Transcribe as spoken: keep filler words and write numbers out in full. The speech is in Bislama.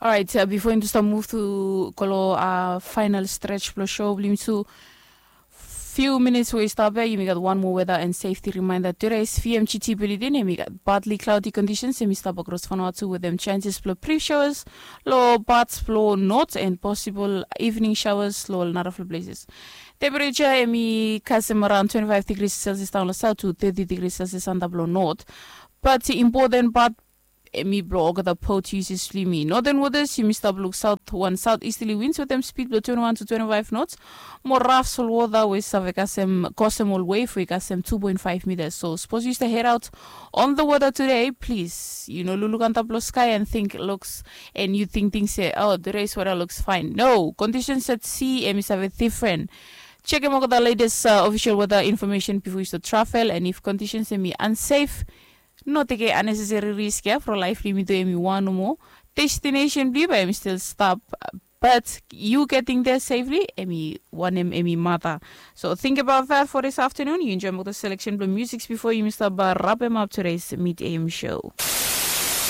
Orait, bifo yumi tu stap muv tu go long fainal strets blong show blong yumi tu, few minits we i stap ya, yumi gat wan moa weda and safety reminder. Tude is fmgt bilidin em i gat badli cloudy conditions em i stap akros fanua tu wetem chances blong brief showers long parts blong north and possible evening showers long narafala places. Temperature em i kasem around twenty-five degrees celsius daon long south to thirty degrees celsius antap long north. But important part em i blong olgeta pot uses blong yumi. Northern waters yumi stap luk south wan south easterly winds wetem speed blong twenty-one to twenty-five knots. Mo raf solwota we i save kasem kosem ol wave we i kasem two point five meters. So sapos yu stap head out on the water today, please yu no lukluk antap long sky and think looks and yu tingting se, oh, today's weather looks fine. No, conditions at sea em i save different. Chekem olgeta latest uh, official weather information before you start travel, and if conditions em i unsafe, no tekem unnecessary risk ya from life limit em i wan nomo. Destination blong yu bae em i still stap, but you getting there safely em i wanem em i mata. So think about that for this afternoon. You enjoy motor selection blong music before yumi start uh, wrap em up today's mid am show.